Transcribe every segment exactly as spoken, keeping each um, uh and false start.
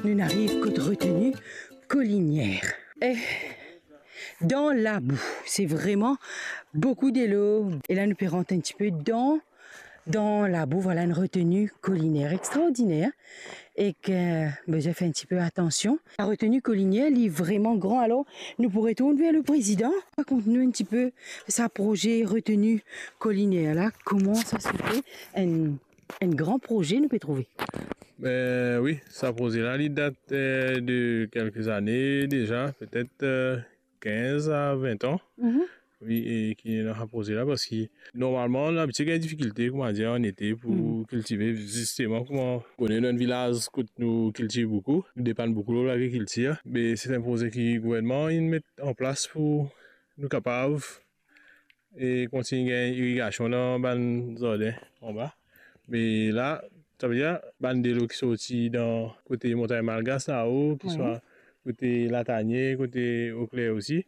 Nou ariv kot reteni kolinier. E dan labou, se vreman boukou delo. E la nou pe rant enn tipe dan, dan labou. Vwala enn reteni kolinier extraordiner. Ek, eh, bizin fer enn tipe atansion. La reteni kolinier, li vreman gran. Alor, nou pou retourn ver le prezidan. Rakont nou enn tipe sa proze reteni kolinier la, kouma sa se fer enn, enn gran proze nou pe trouve. Ben wi, sa proze la, li dat, eh, de kelke zane deza, petet, eh, kinz a vin an. Mhm. Wi, e ki ena sa proze la, parski normalman, labitie gagn difikilte, koumadir, an ete pou kiltive, zisteman, kouma ou kone, dan enn vilaz kot nou kiltiv boukou, nou depann boukou lor lagrikiltir. Me se enn proze ki gouvernman inn met an plas pou nou kapav e kontign gagn irigasion dan bann zardin anba. Me la, savedir bann delo ki sorti dan kote Montagn Malgas lao, ki swa kote Latanie, kote Eau Claire osi,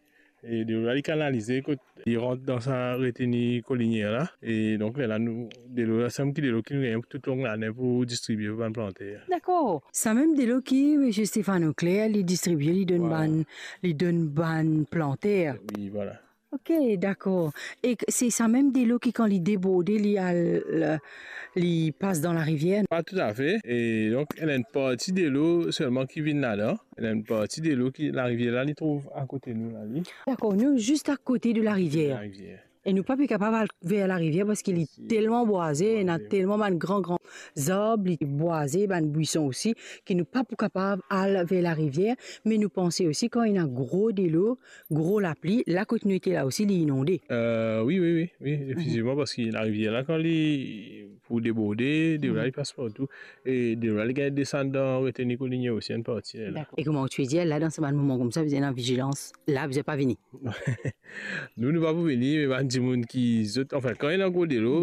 e delo la, li kanalize kot li rant dan sa reteni kolinier la. E donk, lerla nou, delo la, sa mem ki delo ki nou gagn toutlong lane pou distribie pou bann planter. Dakor. Sa mem delo ki misie Stéphane Auclair, li distribie, li donn bann, li donn bann planter. Wi, vwala. Ok, dakor. E k-, se sa mem delo ki, kan li deborde, li al, li pas dan larivier? Pa toutafe. E donk, ena enn parti delo selman ki vinn ladan. Ena enn parti delo ki, larivier la, li trouv akote nou la, li. Dakor, nou zis akote de larivier. Larivier. E nou pa pe kapav al ver larivier parski li telman bwaze, ena telman bann gran, gran zarb, li bwaze, bann bwison osi, ki nou pa pou kapav al ver larivier. Me nou panse osi, kan ena gro delo, gro lapli, la kot nou ete la osi, li inonde. Eh, wi, wi, wi, wi, efektivman, parski larivier la, kan li pou deborde, delo la, li pas partou. E delo la, li gagn desann dan reteni kolinier osi, enn parti la. Dakor. E kouma ou ti pe dir, la, dan sa bann moman koumsa, bizin ena vizilans. La, bizin pa vini. Nou, nou pa pou vini, me bann dimoun ki zot, anfin, kan ena gro delo,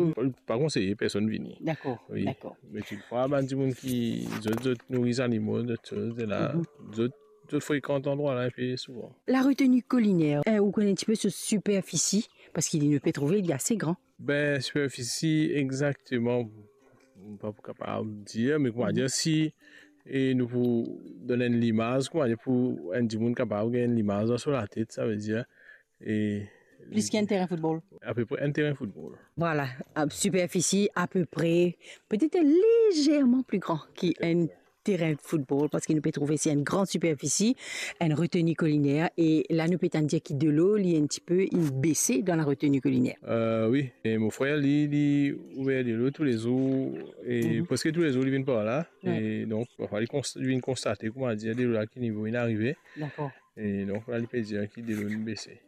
pa konseye personn vini. Dakor, dakor. Me toutfwa, bann dimoun ki zot, zot nouri zanimo, zot soz, e la, zot, zot frekant landrwa la enpe souvan. La reteni kolinier, eh, ou kone enn tipe so siperfisi, parski nou pe trouve li ase gran. Ben, siperfisi, exakteman, mo pa pou kapav dir, me koumadir, si, e nou pou donn enn limaz, koumadir, pou enn dimoun kapav gagn enn limaz dan so latet, savedir, e plis ki enn terin foutbol. Apepre enn terin foutbol. Vwala, a, siperfisi apepre, petet lezerman pli gran ki enn terin foutbol, parski nou pe trouve se enn gran siperfisi, enn reteni kolinier, e la nou pe tann dir ki delo, li enn tipe, inn bese dan la reteni kolinier. Eh, wi, e mo frer, li, li ouver delo toulezour, e preske toulezour, li vinn par la, e donk, parfwa, li konst-, li vinn konstate, koumadir, delo la, ki nivo inn arive. Dakor. E donk, la, li pe dir ki delo inn bese.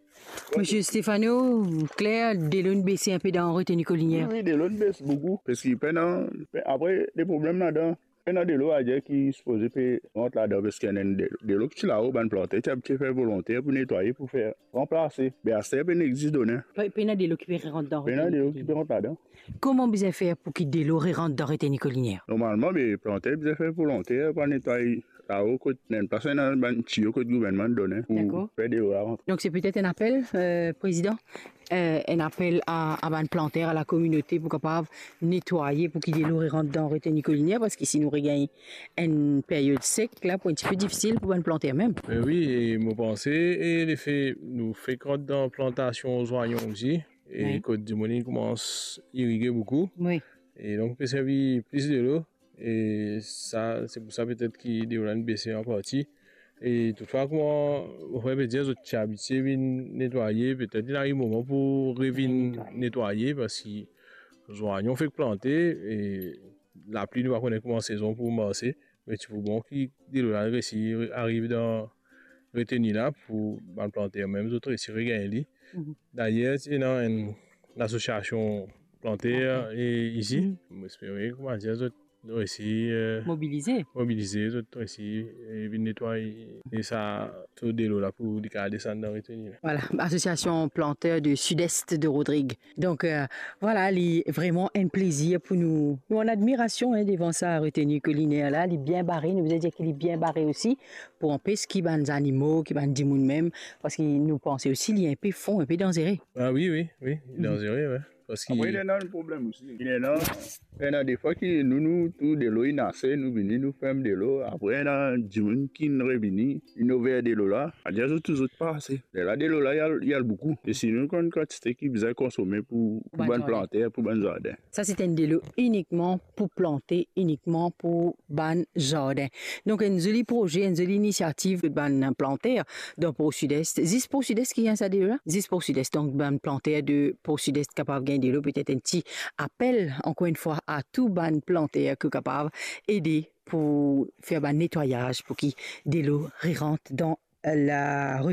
Misie Stéphane Auclair, delo inn bese enpe dan reteni kolinier. Wi, wi, delo inn bese boukou, parski pena, pe-, apre, le problem ladan, pena delo, adir ki sipoze pe rant ladan, parski ena enn de-, delo ki ti lao, bann planter ti abitie fer volonter pou netwaye, pou fer ranplase. Me aster, pena exis done. Pe-, pena delo ki pe rant dan reteni kolinier. Pena delo ki pe rant ladan. Kouma bizin fer pou ki delo rerant dan reteni kolinier? Normalman, be, planter bizin fer volonter, pou al netway lao kot, ena enn plas, ena bann tiyo kot gouvernman done pou fer delo la rant. Dakor. Donk, se petet enn apel, eh, prezidan, eh, enn apel a, a bann planter, a lakominote pou kapav netwaye pou ki delo rerant dan reteni kolinier, parski si nou regagn enn period sek, la pou enn tipe difisil pou bann planter mem. Eh wi, e mo panse, e lefe nou fek rant dan plantasion zwanyon osi, e kot dimoun inn koumans irige boukou. Wi. E donk, pe servi plis delo. E sa, se pou sa petet ki delo la inn bese an parti. E toutfwa, kouma mo frer pe dir, zot ti abitie vinn netwaye, petet li ariv moman pou revinn netwaye, parski zwanyon fek plante, e lapli, nou pa kone kouma sezon pou marse, me ti pou bon ki delo la resi ariv dan reteni la pou bann planter mem, zot resi regagn li. Mhm. Dayer, ti ena enn asosiasion planter, e isi, mo espere, koumadir, zot resi, eh, mobilize. Mobilize, zot resi, eh, vinn netway, e sa, so delo la pou li kapav desann dan reteni la. Vwala, Association Planteur du Sud-Est de Rodrigues. Donk, eh, vwala, li vreman enn plezir pou nou. Nou an admirasion, hein, devan sa reteni kolinier la. Li bien bare, nou bizin dir ki li bien bare osi, pou anpes ki bann zanimo, ki bann dimoun mem, parski nou panse osi li enpe fon, enpe danzere. Ah wi, wi, wi, li danzere, wi. Parski apre, li ena enn problem osi. Li ena, ena defwa ki nou, nou tou delo inn ase, nou vini, nou ferm delo. Apre, ena dimoun ki revini, inn over delo la. Adir zot tou zot pa ase. Lerla delo la, li al, li al boukou. E si nou konn kantite ki bizin konsome pou, pou bann planter, pou bann zardin. Sa se enn delo inikman pou plante, inikman pou bann zardin. Donk, enn zoli proze, enn zoli inisiativ bann planter dan Port Sud Est. Zis Port Sud Est ki gagn sa delo la? Zis Port Sud Est. Donk, bann planter de Port Sud Est kapav gagn delo, petet enn ti apel, ankor enn fwa, a tou bann planter ki kapav ede pou fer bann netwayaz, pou ki delo rerant dan la rot